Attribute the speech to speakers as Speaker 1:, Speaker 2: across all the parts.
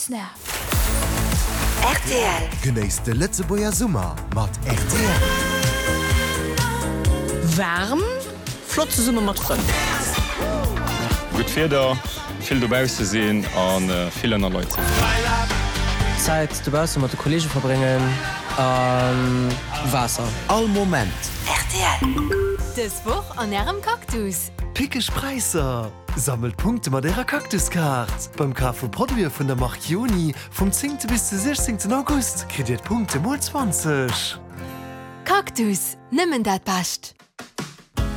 Speaker 1: Snap.
Speaker 2: Rtl.
Speaker 3: Genéisst de Lëtzebuerger Summer mat rtl.
Speaker 4: Waarm, flott zesumme mat Frënn.
Speaker 5: Gutt Wieder, vill dobausse sinn a vill ënner Leit sinn.
Speaker 6: Zäit dobausse mat de Kollege verbréngen a Waasser.
Speaker 3: All Moment.
Speaker 2: Rtl. Dës Woch an Ärem Cactus.
Speaker 3: Pickeg Präisser! Sammelt Punkte mat Ärer Cactus-Kaart! Beim Kaf vu Produite vun der Mark Joni vum 10. Bis de 16. August kritt Dir d'Punkte mol 20.
Speaker 2: Cactus, nëmmen dat Bescht!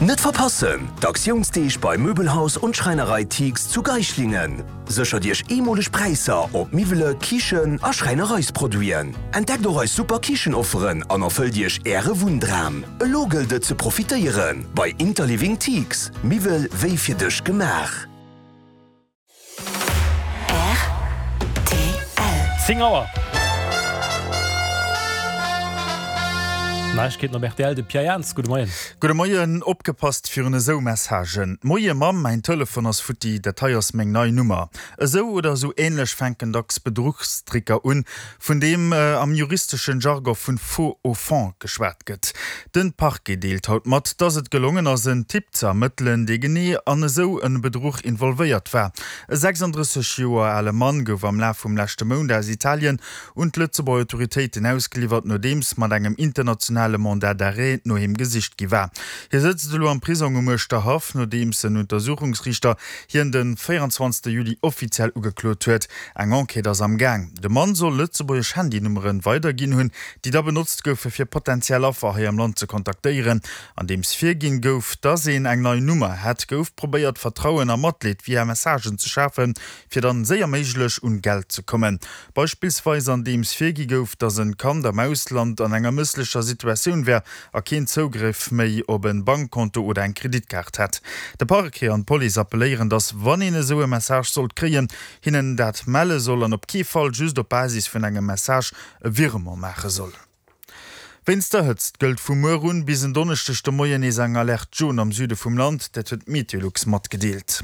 Speaker 7: Net verpassen, D'Aktiounsdeeg bei Möbelhaus und Schreinerei Thiegs zu Geislingen. Séchert Iech eemoleg Präisser op Miwwele, Kichen a Schräinereisproduiten. Entdeckt och eis super Kichenofferen an erfëllt Iech Äre Wunndram. Elo gëllt et ze profitéieren bei Interliving Thiegs, Miwwel wéi fir dech gemaach.
Speaker 2: Rtl.
Speaker 8: 10 Auer. Neiegkeeten op rtl, de Pierre Jans, gudde Moien.
Speaker 9: Gudde Moien. Opgepasst virun esou Messagen, Moie Mamm, mäin Telefon ass futti, dat hei ass meng nei Nummer. Esou oder esou änlech fänken dacks Bedruchstricker un, vun deem am juristeschen Jargon vun faux au fond geschwat gëtt. Den Parquet deelt haut mat, dass et gelongen ass en Typ ze ermëttelen, dee genee an esou en Bedruch involvéiert war. E 36 Joer ale Mann gouf am Laf vum leschte Mount aus Italien un d'Lëtzebuerger Autoritéiten ausgeliwwert, nodeems mat engem internationale Mandat d'arrêt no him gesicht gi war. Hie sëtzt elo am Prisong um Uerschterhaff, nodeems en Untersuchungsriichter hien de 24 Juli offiziell ugeklot huet. Eng Enquête ass am Gaang. De Mann soll lëtzebuergesch Handynummere weiderginn hunn, déi da benotzt goufe fir potentiell Affer hei am Land ze kontaktéieren. Andeems virginn gouf, dass een eng nei Nummer hätt, gouf probéiert Vertrauen a Matleed via Messagen ze schafen, fir dann séier méiglech un Geld ze kommen. Beispillsweis andeems virgi gouf, dass en Kand am Ausland an enger mësslecher Situatioun wär a keen Zougriff méi op en Bankkonto oder eng Kreditkaart hätt. De Parquet an d'Police appelléieren, dass wann een esou e Message sollt kréien, hinnen dat melle soll an op kee Fall just op Basis vun engem Message e Virement maache soll. Wéinst der Hëtzt gëllt vu muer un bis en Donneschdeg de Moien nees eng Alerte jaune am Süde vum Land, dat huet d'Meteolux matgedeelt.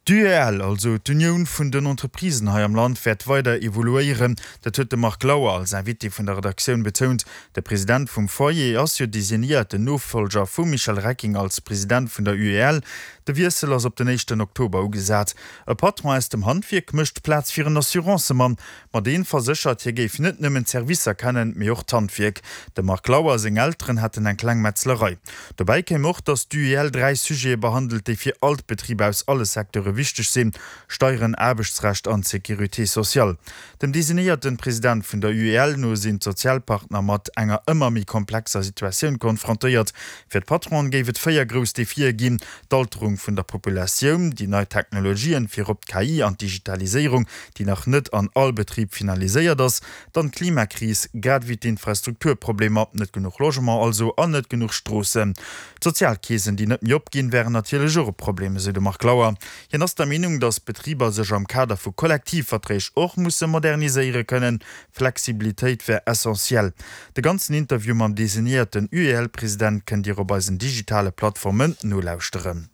Speaker 9: D'UEL, also d'Unioun vun den Entreprisen hei am Land, wäert weider evoluéieren. Dat huet de Marc Lauer als Invité vun der Redaktioun betount. De President vum Foyer ass jo designéierten Nofollger vum Michel Recking als President vun der UEL. De Wiessel ass op den éischten Oktober ugesat. E Patron aus dem Handwierk mécht Plaz fir en Assurancemann. Ma deen verséchert, hie géif net nëmmen d'Servicer kennen, mee och d'Handwierk. Dem Marc Lauer seng Elteren hätten eng kleng Metzlerei. Dobäi kéim och, datt d'UEL 3 Sujete behandelt, déi fir all d'Betriber aus alle Secteure wichteg sinn, Steieren, Aarbechtsrecht an d'Sécurité sociale. Dem designéierten President vun der UEL no sinn d'Sozialpartner mat enger ëmmer méi komplexer Situatioun konfrontéiert. Fir d'Patronen géif et 4 grouss Defie ginn, d'Alterung vun der Populatioun, déi nei Technologien, virop d'KI an d'Digitaliséierung, déi nach net an all Betrib finaliséiert ass, dann d'Klimakris, grad ewéi d'Infrastrukturproblemer, net genuch Logement also an net genuch Stroossen. D'Sozialkeesen, déi net méi opginn, wären natierlech och e Problem, esou de Marc Lauer. Hien ass der Meenung, datt d'Betriber sech am Kader vu Kollektivverträg och musse moderniséiere kënnen. Flexibilitéit wär essentiell. De ganzen Interview mam designéierten UEL-President kënnt Dir op eisen digitale Plattformen nolauschteren.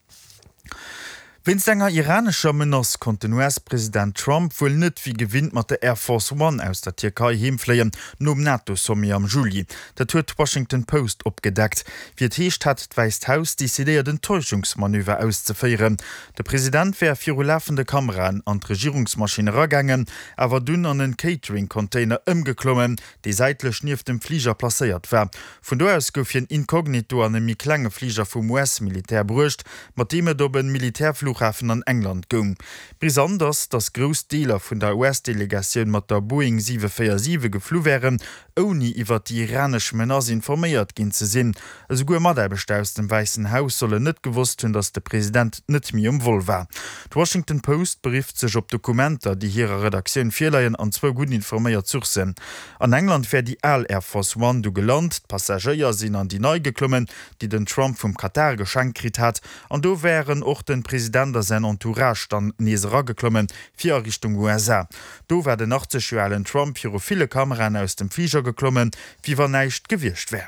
Speaker 9: Wéinst enger iranescher Menace konnt den US-President Trump wuel net wéi gewinnt mat der Air Force One aus der Tierkei heemfléien, nom NATO-Sommet am Juli. Dat huet d'Washington Post opgedeckt. Wéi et heescht, hat d'Wäisst Haus decidéiert en Täuschungsmanöver auszeféieren. De President wär viru lafende Kameraen an d'Regierungsmaschinn eragaangen, awer dunn an en Catering-Container ëmgeklommen, dee säitlech nieft dem Fliger placéiert war. Vun do aus gouf hien inkognito an e méi klenge Fliger vum US-Militär bruecht, mat deem et op e Militärflughafen an England goung. Brisant ass, datt grouss Deeler vun der US-Delegatioun mat der Boeing 747 geflu wären, ouni iwwer déi iranesch Menace informéiert ginn ze sinn. Esouguer Mataarbechter aus dem Wäissen Haus sollen net gewosst hunn, datt de President net méi um Vol war. D'Washington Post berifft sech op Dokumenter, déi hirer Redaktioun virleien an zwou gutt informéiert Sourcen. An England wär déi al Air Force One du gelant, d'Passagéier sinn an déi nei geklommen, déi den Trump vum Katar geschenkt kritt hat, an do wären och den President a säin Entourage dann nees erageklommen, fir a Richtung USA. Do war den 80 Joer alen Trump viru ville Kameraen aus dem Fliger geklommen, wéi wann näischt gewiescht wär.